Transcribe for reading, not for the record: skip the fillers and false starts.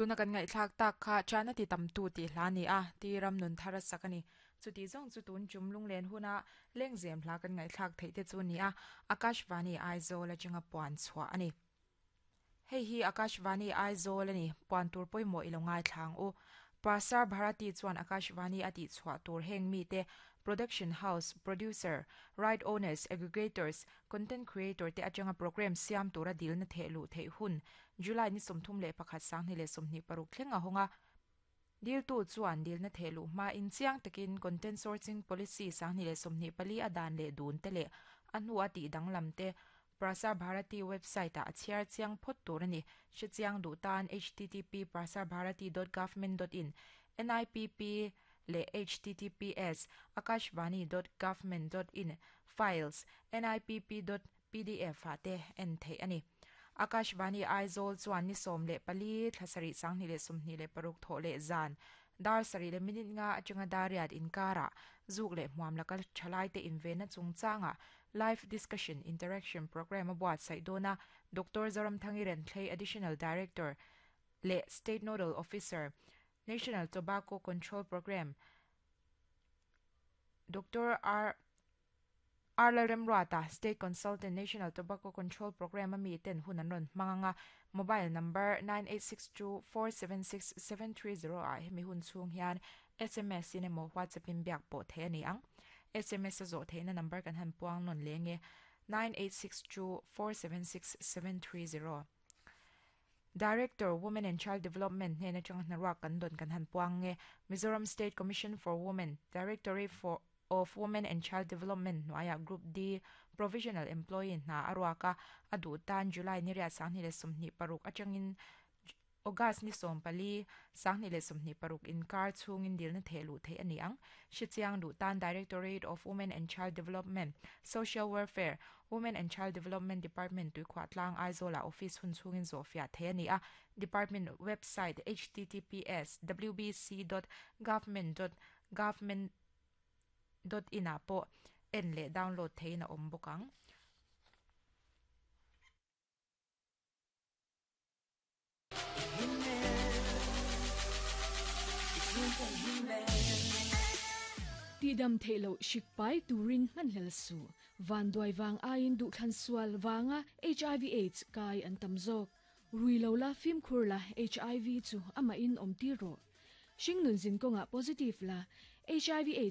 Tuna kan ngaihthlak tak kha Chana ti tamtu tih hla a ni a, ti ram nun thar a sak a ni. Chuti zawng chu tun chum lunglen huna lengzem hla kan ngaihthlak theih te chu a ni a, Akashvani Aizawl atanga puan chhuah a ni. Hei hi Akashvani Aizawl a ni, puan tur pawimawh i lo ngaithla ang u. Prasar Bharati chuan Akashvani a tihchhuah tur heng mite, Production House, Producer, Right Owners, Aggregators, Content Creator te atanga program siam tura dilna theh luh theih hun July ni 31 2026 thleng a hawng a. Diltu chuan dilna theh luh hmain chiang takin Content Sourcing Policy 2024 a dan leh dun te leh a hnu a tih danglam te Prasar Bharati website ah a chhiar chiang phawt tur a ni. Hre chiang duh tan http prasarbharati dot government dot in, NIPP, leh https akashvani dot government dot in, files, nipp dot pdf ah te en theih a ni. Akashvani Aizawl chuan ni 14 thla sarih 2026 thawh leh zan dar sarih leh minute nga atanga dar riat inkarah zuk leh hmuam laka thalaite invenna chungchangah Live Discussion Interaction Programme a buatsaih dawn a, Doctor Zoramthangi Renthlei Additional Director leh State Nodal Officer, National Tobacco Control Programme, Doctor R. R. Lalremruata, State Consultant, National Tobacco Control Programme a mi ten hun an rawn hmang ang a, mobile number 9862476730 ah hemi hun chhung hian sms in emaw WhatsApp in biak pawh theih a ni ang. Sms a zawh theihna number kan han puang nawn leng e, 9862476730. Director, Women and Child Development hnen atanga hnaruak kan dawn kan han puang nge, Mizoram State Commission for Women, Directorate for of Women and Child Development hnuaiah Group D Provisional Employee hna a ruak a, a duh tan July ni riat 2026 atangin August ni 14, 2026 inkar chhungin dilna theh luh theih a ni ang. Hrechiang duh tan Directorate of Women and Child Development, Social Welfare, Women and Child Development Department Tuikhuah Tlang Aizawlah office hun chhungin zawhfiah theih a ni a, Department website https wbc dot government dot government dot in ah pawh en leh download theihin a awm bawk ang. Tihdam theih loh hrik pai turin hmanhlel suh. Vanduai vang aiin duhthlan sual vanga hiv aids kai an tam zawk. Rui lo la fimkhur la hiv chu amahin awm tir rawh. Hringnun zin kawngah positive la hiv aids.